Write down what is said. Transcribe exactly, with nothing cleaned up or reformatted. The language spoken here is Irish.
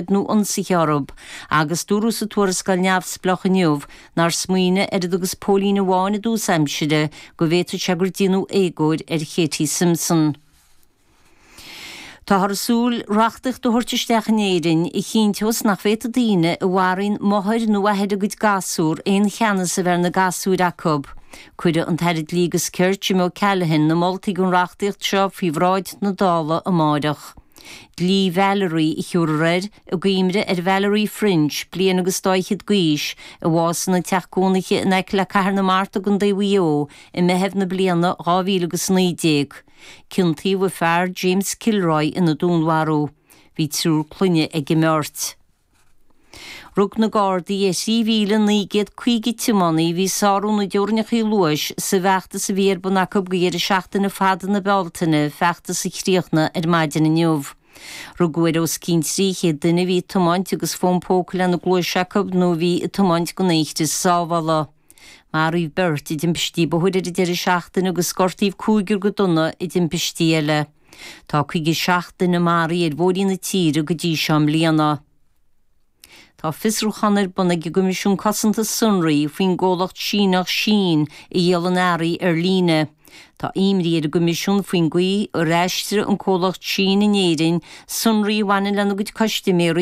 nó ionsaithe orthu, agus dúradh sa tuarascáil neamhspleách inniu nár smaoinigh oiread agus póilín amháin i dtús aimsire go bhféadfadh sé gur déanadh éagóir ar Katie Simpson. Táthar ag súil reachtaíocht a thabhairt isteach in Éirinn a chinnteos nach bhféadfaidh daoine a mharaíonn máthair nó athair a gcuid gasúr aon cheannas a bheith ar na gasúir acu. Cuirfidh an tAire Dlí agus Cirt Jim O'Callaghan na moltaí don reachtaíocht seo faoi bhráid na Dála amárach. Dlí Valerie a thiúrfar air i gcuimhne ar Valerie French, bliain agus dá fhichead d'aois, a bhásaigh ina teach cónaithe in aice le Cathair na Mart i gContae Mhaigh Eo i Meitheamh na bliana dhá mhíle agus naoi déag. Ciontaíodh a fear James Kilroy ina dúnmharú. Bhí triúr clainne ag an mbeirt. Rug na Gardaí ar thrí mhíle naoi gcéad caoga tiománaí a bhí ag sárú na dteorainneacha luais sa bhfeachtas a bhí ar bun acu go dheireadh seachtaine fada na Bealtaine, feachtas a chríochnaigh ar maidin inniu. Rugadh ar os cionn trí chéad duine a bhí ag tiomáint agus fón póca lena gcluais acu nó a bhí ag tiomáint gan aon chrios sábhála. Maraíodh beirt i dtimpistí bóthair ar an deireadh seachtaine agus gortaíodh cúigear go dona i dtimpistí eile. Tá caoga seacht duine maraithe ar bhóithrí na tíre go dtí seo i mbliana. Tá fiosrúchán ar bun ag an gCoimisiún Cosanta Sonraí faoin gcomhlacht Síneach Shein a dhíolann earraí ar líne. Tá imní ar an gCoimisiún faoin gcaoi ar aistrigh an comhlacht Shein in Éirinn sonraí a bhaineann lena gcuid custaiméirí